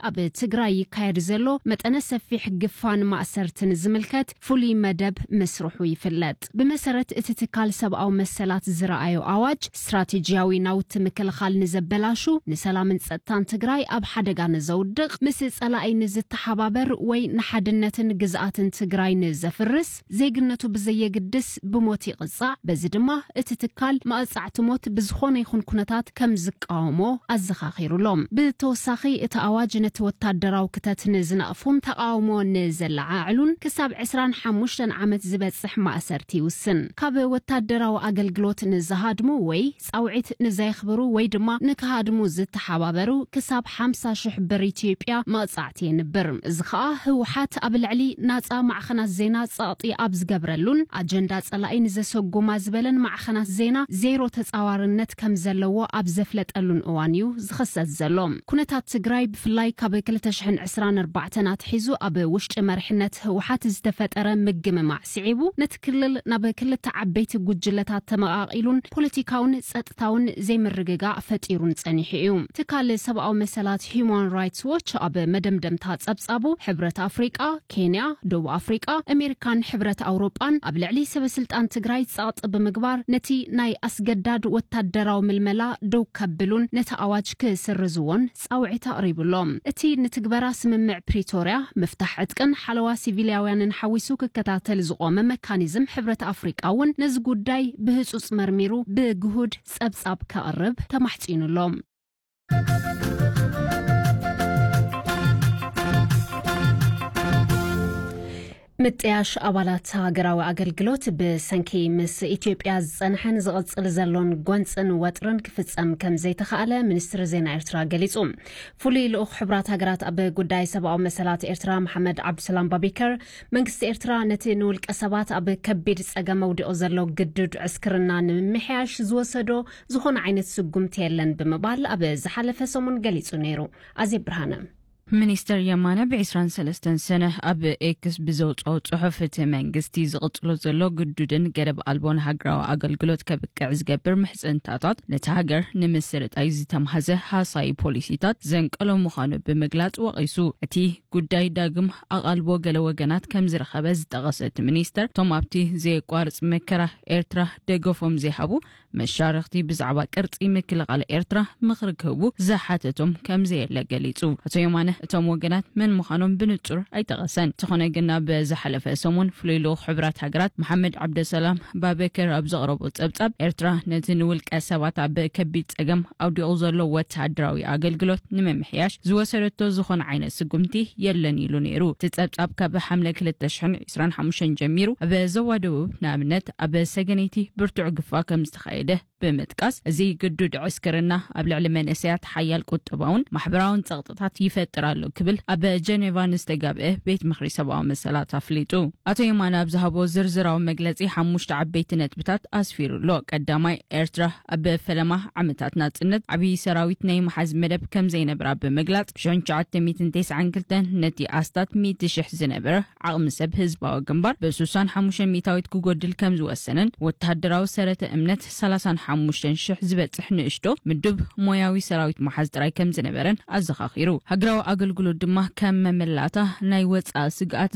ኣብ ትግራይ ይካየድ ዘሎ መጠነ ሰፊሕ ግፋን ማእሰርትን ዝምልከት ፍሉይ መደብ ምስርሑ ይፍለጥ። ብመሰረት እቲ ትካል ሰብኣዊ መሰላት ዝረኣዮ ኣዋጅ፣ ስትራቴጂያዊ ናውቲ ምክልኻል ንዘበላሹ፣ ንሰላምን ጸጥታን ትግራይ ኣብ ሓደጋ ንዘውድቕ፣ ምስ ጸላኢ ንዝተሓባበር ወይ ንሓድነትን ግዝኣትን ትግራይ ንዘፍርስ፣ ዜግነቱ ብዘየግድስ ብሞት ይቕጻዕ። በዚ ድማ እቲ ትካል መቕጻዕቲ ሞት ብዝኾነ ይኹን ኩነታት ከም ዝቃወሞ ኣዘኻኺሩሎም። ብተወሳኺ እቲ ኣዋጅ ነቲ ወታደራዊ ክተት ንዝነቕፉን ተቃውሞ ንዘለዓዕሉን ክሳብ ዕስራን ሓሙሽተን ዓመት ዝበጽሕ ማእሰርቲ ይውስን። ካብ ወታደራዊ ኣገልግሎት ንዝሃድሙ ወይ ጻውዒት ንዘየኽብሩ ወይ ድማ ንክሃድሙ ዝተሓባበሩ ክሳብ ሓምሳ ሽሕ ብር ኢትዮጵያ መቕጻዕቲ የንብር። እዚ ኸኣ ህወሓት ኣብ ልዕሊ ናጻ ማዕኸናት ዜና ጸቕጢ ኣብ ዝገብረሉን ኣጀንዳ ጸላኢ ንዘሰጉማ ዝበለን ማዕኸናት ዜና ዜሮ ተጻዋርነት ከም ዘለዎ ኣብ ዘፍለጠሉን እዋን እዩ ዝኽሰስ ዘሎ። ኩነታት ትግራይ ብፍላይ ካብ ክልተ ሽሕን ዕስራን ኣርባዕተን ኣትሒዙ ኣብ ውሽጢ መሪሕነት ህወሓት ዝተፈጠረ ምግምማዕ ስዒቡ ነቲ ክልል ናብ ክልተ ዓበይቲ ጉጅለታት ተመቓቒሉን ፖለቲካውን ጸጥታውን ዘይምርግጋእ ፈጢሩን ጸኒሑ እዩ። ትካል ሰብኣዊ መሰላት ሂዩማን ራይትስ ዎች ኣብ መደምደምታ ጸብጻቡ ሕብረት ኣፍሪቃ፣ ኬንያ፣ ደቡብ ኣፍሪቃ፣ ኣሜሪካን ሕብረት ኣውሮጳን ኣብ ልዕሊ ሰበ ስልጣን ትግራይ ጸቕጢ ብምግባር ነቲ ናይ ኣስገዳድ ወታደራዊ ምልመላ ደው ከብሉን ነቲ ኣዋጅ ክስርዝዎን ጻውዒት ኣቕሪቡ ኣሎ። እቲ ንትግበራ ስምምዕ ፕሪቶርያ፣ ምፍታሕ ዕጥቅን ሓለዋ ሲቪልያውያንን ሓዊሱ ክከታተል ዝቖመ መካኒዝም ሕብረት ኣፍሪቃ እውን ነዚ ጉዳይ ብህጹጽ መርሚሩ ብግሁድ ጸብጻብ ከቕርብ ተማሕጺኑ ኣሎ። ምጥያሽ ኣባላት ሃገራዊ ኣገልግሎት ብሰንኪ ምስ ኢትዮጵያ ዝጸንሐን ዝቕጽል ዘሎን ጎንጽን ወጥርን ክፍጸም ከም ዘይተኻእለ ሚኒስትሪ ዜና ኤርትራ ገሊጹ። ፍሉይ ልኡኽ ሕቡራት ሃገራት ኣብ ጉዳይ ሰብኣዊ መሰላት ኤርትራ መሓመድ ዓብዱሰላም ባቢከር፣ መንግስቲ ኤርትራ ነቲ ንውልቀ ሰባት ኣብ ከቢድ ጸገም ኣውዲቑ ዘሎ ግዱድ ዕስክርና ንምምሕያሽ ዝወሰዶ ዝኾነ ዓይነት ስጉምቲ የለን ብምባል ኣብ ዝሓለፈ ሰሙን ገሊጹ ነይሩ። ኣዜብ ብርሃነ። ሚኒስተር የማነ ብ ዕስራን ሰለስተን ሰነ ኣብ ኤክስ ብዘውጽኦ ጽሑፍ፣ እቲ መንግስቲ ዝቕጽሎ ዘሎ ግዱድን ገደብ ኣልቦን ሃገራዊ ኣገልግሎት ከብቅዕ ዝገብር ምሕጽንታታት ነቲ ሃገር ንምስርጣይ ዝተማህዘ ሃሳዪ ፖሊሲታት ዘንቀሎ ምዃኑ ብምግላጽ ወቒሱ። እቲ ጉዳይ ዳግም ኣቓልቦ ገለ ወገናት ከም ዝረኸበ ዝጠቐሰ እቲ ሚኒስተር፣ እቶም ኣብቲ ዘየቋርጽ መከራ ኤርትራ ደገፎም ዘይሃቡ መሻርኽቲ ብዛዕባ ቅርጺ ምክልኻል ኤርትራ ምኽሪ ክህቡ ዝሓተቶም ከም ዘየለ ገሊጹ። ኣቶ የማነ እቶም ወገናት መን ምዃኖም ብንጹር ኣይጠቐሰን። እንተኾነ ግን ኣብ ዝሓለፈ ሰሙን ፍሉይ ልኡኽ ሕቡራት ሃገራት መሓመድ ዓብደሰላም ባበከር ኣብ ዘቕረቦ ጸብጻብ፣ ኤርትራ ነቲ ንውልቀ ሰባት ኣብ ከቢድ ጸገም ኣውዲቑ ዘሎ ወተሃደራዊ ኣገልግሎት ንምምሕያሽ ዝወሰደቶ ዝኾነ ዓይነት ስጉምቲ የለን ኢሉ ነይሩ። እቲ ጸብጻብ ካብ ሓምለ ክልተ ሽሕን ዕስራን ሓሙሽተን ጀሚሩ ኣብ ዞባ ደቡብ ንኣብነት ኣብ ሰገነይቲ ብርቱዕ ግፋ ከም ዝተኻየደ ብምጥቃስ፣ እዚ ግዱድ ዕስክርና ኣብ ልዕሊ መንእሰያት ሓያል ቁጠባውን ማሕበራውን ጸቕጥታት ይፈጥር ኣሎ ክብል ኣብ ጀኔቫ ንዝተጋብአ ቤት ምኽሪ ሰብኣዊ መሰላት ኣፍሊጡ። ኣቶ የማነ ኣብ ዝሃቦ ዝርዝራዊ መግለጺ ሓሙሽተ ዓበይቲ ነጥብታት ኣስፊሩ ኣሎ። ቀዳማይ፣ ኤርትራ ኣብ ፈለማ ዓመታት ናጽነት ዓብዪ ሰራዊት ናይ መሓዝ መደብ ከም ዘይነበራ ብምግላጽ፣ ብ ሺሕ ትሽዓተ ሚእትን ተስዓን ክልተን ነቲ ኣስታት ሚእቲ ሽሕ ዝነበረ ዓቕሚ ሰብ ህዝባዊ ግንባር ብ ስሳን ሓሙሽተን ሚእታዊት ክጎድል ከም ዝወሰነን ወተሃደራዊ ሰረተ እምነት ሰላሳን ሓሙሽተን ሽሕ ዝበጽሕ ንእሽቶ ምዱብ ሞያዊ ሰራዊት መሓዝ ጥራይ ከም ዝነበረን ኣዘኻኺሩ። ሃገራዊ ኣገልግሎት ድማ ከም መመላእታ ናይ ወጻኢ ስግኣት